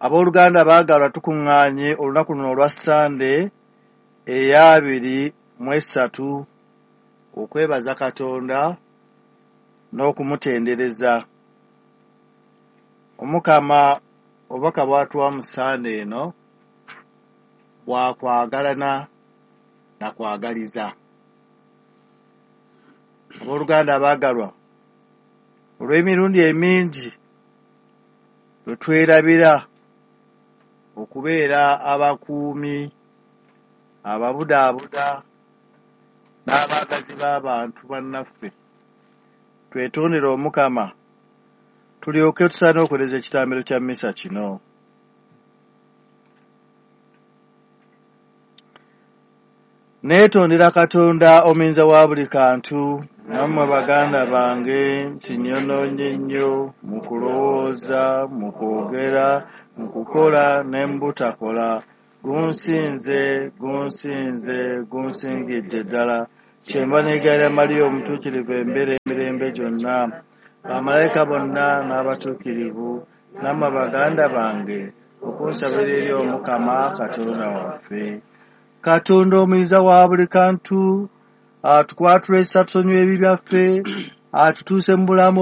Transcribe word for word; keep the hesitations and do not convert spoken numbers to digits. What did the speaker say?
Abooluganda baagalwa, tukuŋŋaanye olunaku luno olwa Ssande ey'abiri mu essatu okwebaza Katonda n'okumutendereza. Omukama obubaka bw'atuwa mu Ssande eno bwa kwagalana na kwagaliza. Abooluganda abaagalwa, olw'emirundi emingi lwe twerabira okubeera abakuumi, ababudaabuda n'abaagazi b'abantu bannaffe, twetondere Omukama tulyoke tusaane okuweereza ekitambiro kya mmisa kino. Neetondera Katonda omuyinza wa buli kantu nammwe baganda bange nti nnyonoonye nnyo mu kulowooza, mu kwogera, mu kukola ne mu butakola. Gunsinze, gunsinze, gunsingidde ddala. Kyenva neegayirira Mariya Omutuukirivu embeera emirembe gyonna, bamalayika bonna n'abatuukirivu, nammwe baganda bange okunsabira eri Omukama Katonda waffe. Katonda omuyinza wa buli kantu atukwatule ekisa, tusonyiwe ebibi byaffe, atutuuse mu bulamu